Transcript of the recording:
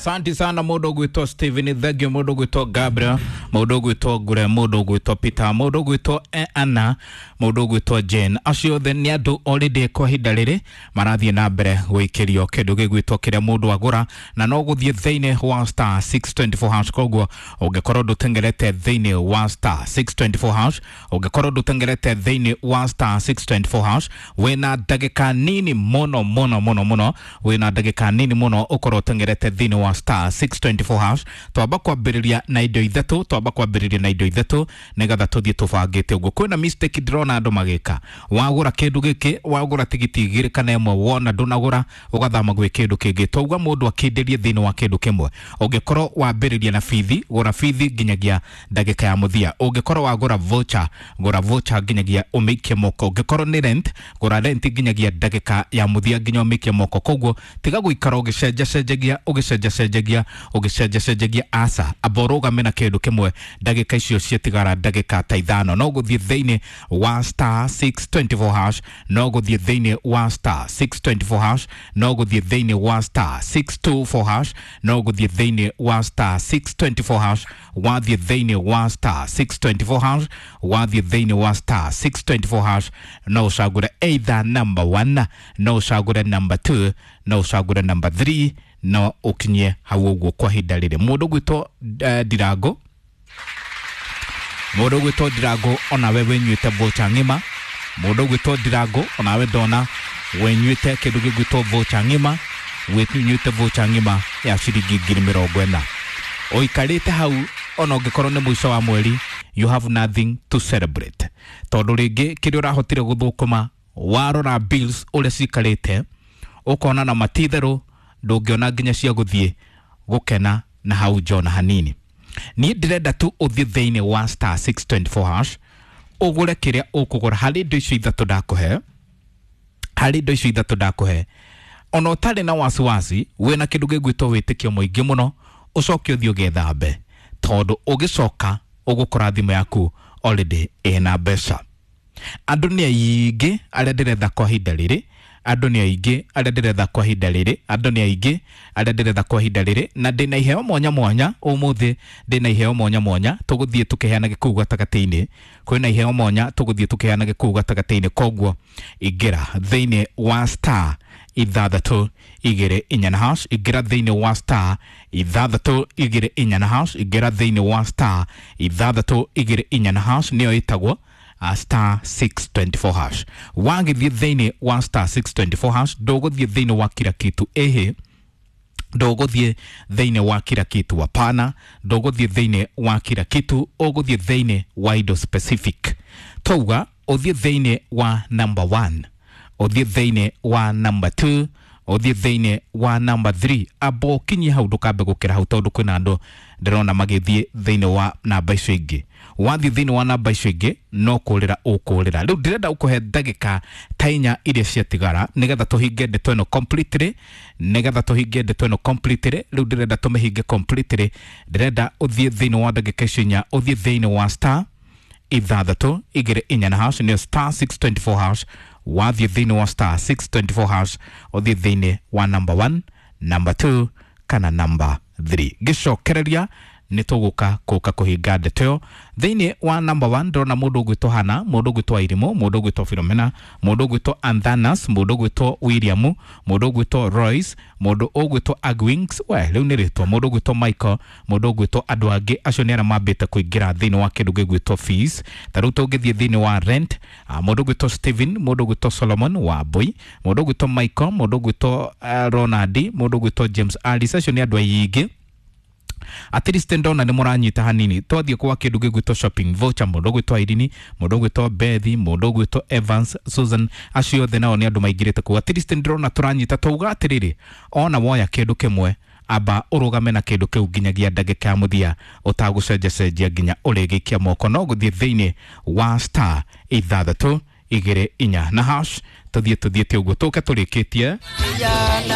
Asante sana mũndũ ũgwĩtwo Steven, thank you mũndũ ũgwĩtwo Gabriel, mũndũ ũgwĩtwo Ngure, mũndũ ũgwĩtwo Peter, mũndũ ũgwĩtwo Anna, mũndũ ũgwĩtwo Jane. Acio othe nĩ andũ already kwa ihinda rĩrĩ marathiĩ na mbere gũikĩrio kĩndũ gĩgwĩtwo kĩrĩa mũndũ agũra, na no gũthiĩ thĩinĩ wa star 624 hash. Koguo ũngĩkorwo ndũtengerete thĩinĩ wa star 624 hash, ũngĩkorwo ndũtengerete thĩinĩ wa star 624 hash, wĩna ndagĩka nini mũno mũno mũno mũno, wĩna ndagĩka nini mũno ũkorwo ũtengerete thĩinĩ wa star 624 hash. Twamba kwambĩrĩria na indo ithatũ, twamba kwambĩrĩria na indo ithatũ nĩgetha tũthiĩ tũbangĩte ũguo. Kwĩna mistake ndĩrona andũ magĩka, wagũra kĩndũ gĩkĩ, wagũra tigiti igĩrĩ kana ĩmwe, wona ndũnagũra ũgathama gwĩ kĩndũ kĩngĩ. Twauga mũndũ akĩndĩrie thĩinĩ wa kĩndũ kĩmwe. Ũngĩkorwo wambĩrĩria na bithi, gũra bithi nginyagia ndagĩka ya mũthia. Ũngĩkorwo wagũra voucher, gũra voucher nginyagia ũmĩikie moko. Ũngĩkorwo nĩ rent, gũra rent nginyagia ndagĩka ya mũthia nginya ũmĩikie moko. Koguo tiga gũikara ũgĩcenjacenjagia ũgĩcenjacenjagia ũgĩcenjacenjagia, aca, amba ũrũgame na kĩndũ kĩmwe ndagĩka icio ciatigara ndagĩka ta ithano. No gũthiĩ thĩinĩ wa star 624 hash, no gũthiĩ thĩinĩ wa star 624 hash, no gũthiĩ thĩinĩ wa star 624 hash, no gũthiĩ thĩinĩ wa star 624 hash. Wathiĩ thĩinĩ wa star 624 hash, wathiĩ thĩinĩ wa star 624 hash, no ũcagũre either number 1, no ũcagũre number 2, no ũcagũre number 3, no ũkinye hau ũguo kwa ihinda rĩrĩ. Mũndũ ũgwĩtwo Ndirango, mũndũ ũgwĩtwo Ndirango, onawe wĩnyuĩte voucher ng'ima. Mũndũ ũgwĩtwo Ndirango, onawe ndona wenyuĩte kĩndũ gĩgwĩtwo voucher ng'ima, wĩnyuĩte voucher ng'ima ya ciringi 40,000. Ũikarĩte hau ona ũngĩkorwo nĩ mũico wa mweri, you have nothing to celebrate, tondũ rĩngĩ kĩrĩa ũrahotire gũthũkũma, warora bills ũrĩa cikarĩte, ũkona na matitherũ ndũngĩona nginya cia gũthiĩ gũkena na hau njona hanini. Niĩ ndĩrenda tu ũthiĩ thĩinĩ wa star 624 hash, ũgũre kĩrĩa ũkũgũra harĩ indo icio ithatũ ndakũhe, harĩ indo icio ithatũ ndakũhe, ona ũtarĩ na wasiwasi, wĩna kĩndũ gĩgwĩtwo wĩtĩkio mũingĩ mũno, ũcoke ũthiĩ ũgethambe, tondũ ũgĩcoka ũgũkora thimũ yaku already ĩna mbeca. Andũ nĩ aingĩ arĩa ndĩretha kwa ihinda rĩrĩ, andũ nĩ aingĩ arĩa ndĩretha kwa ihinda rĩrĩ, andũ nĩ aingĩ arĩa ndĩretha kwa ihinda rĩrĩ, na ndĩna iheo mwanya mwanya ũmũthĩ, ndĩna iheo mwanya mwanya tũgũthiĩ tũkĩheanage kũu gatagatĩ-inĩ. Kwĩna iheo mwanya tũgũthiĩ tũkĩheanage kũu gatagatĩ-inĩ. Koguo ingĩra thĩinĩ wa star 624 na hash, ingĩra thĩinĩ wa star 624 na hash, ingĩra thĩinĩ wa star 624 na hash, nĩyo ĩtagwo star 624 hash. Wagĩthiĩ thĩinĩ wa star 624 hash, ndũgũthiĩ thĩinĩ wa kila kitu, ĩhĩ, ndũgũthiĩ thĩinĩ wa kila kitu, hapana, ndũgũthiĩ thĩinĩ wa kila kitu, ũgũthiĩ thĩinĩ wa indo specific. Twauga ũthiĩ thĩinĩ wa number 1, ũthiĩ thĩinĩ wa number 2, ũthiĩ thĩinĩ wa number 3. Amba ũkinyie hau, ndũkambe gũkĩra hau, tondũ kwĩna andũ ndĩrona magĩthiĩ thĩinĩ wa namba icio ingĩ. Wathiĩ thĩinĩ wa namba icio ingĩ, no kũrĩra ũkũrĩra. Rĩu ndĩrenda ũkũhe ndagĩka ta inya iria ciatigara nĩgetha tũhinge ndeto ĩno completely, nĩgetha tũhinge ndeto ĩno completely. Rĩu ndĩrenda tũmĩhinge completely. Ndĩrenda ũthiĩ thĩinĩ wa ndagĩka icio inya, ũthiĩ thĩinĩ wa star 624 na hash, nĩyo star 624 hash. Wathiĩ thĩinĩ wa star 624 hash, ũthiĩ thĩinĩ wa number 1, number 2 kana number 3. Ngĩcokereria nĩ tũgũka kũka kũhinga ndeto ĩyo. Thĩinĩ wa number 1 ndĩrona mũndũ ũgwĩtwo Hana, mũndũ ũgwĩtwo Airimũ, mũndũ ũgwĩtwo Philomena, mũndũ ũgwĩtwo Anthanas, mũndũ ũgwĩtwo William, mũndũ ũgwĩtwo Royce, mũndũ ũgwĩtwo Agwings, we rĩu nĩ rĩtwa, mũndũ ũgwĩtwo Michael, mũndũ ũgwĩtwo andũ angĩ. Acio nĩ arĩa mambĩte kũingĩra thĩinĩ wa kĩndũ gĩgwĩtwo fees. Ta rĩu tũngĩthiĩ thĩinĩ wa rent, mũndũ ũgwĩtwo Steven, mũndũ ũgwĩtwo Solomon wa Mbui, mũndũ ũgwĩtwo Michael, mũndũ ũgwĩtwo Ronald, mũndũ ũgwĩtwo James Alice, acio nĩ andũ aingĩ. At least ndona nĩ mũranyita hanini. Twathiĩ kwa kĩndũ gĩgwĩtwo shopping voucher, mũndũ ũgwĩtwo Irene, mũndũ ũgwĩtwo Bethi, mũndũ ũgwĩtwo Evans, Susan, acio othe nao nĩ andũ maingĩrĩte kũu. At least ndĩrona tũranyita. Twauga atĩrĩrĩ, ona woya kĩndũ kĩmwe, amba ũrũgame na kĩndũ kĩu nginyagia ndagĩka ya mũthia ũtagũcenjacenjia nginya ũrĩgĩikia moko. No gũthiĩ thĩinĩ wa star 624 na hash, tũthiĩ tũthiĩte ũguo tũke tũrĩkĩtie. Vijana.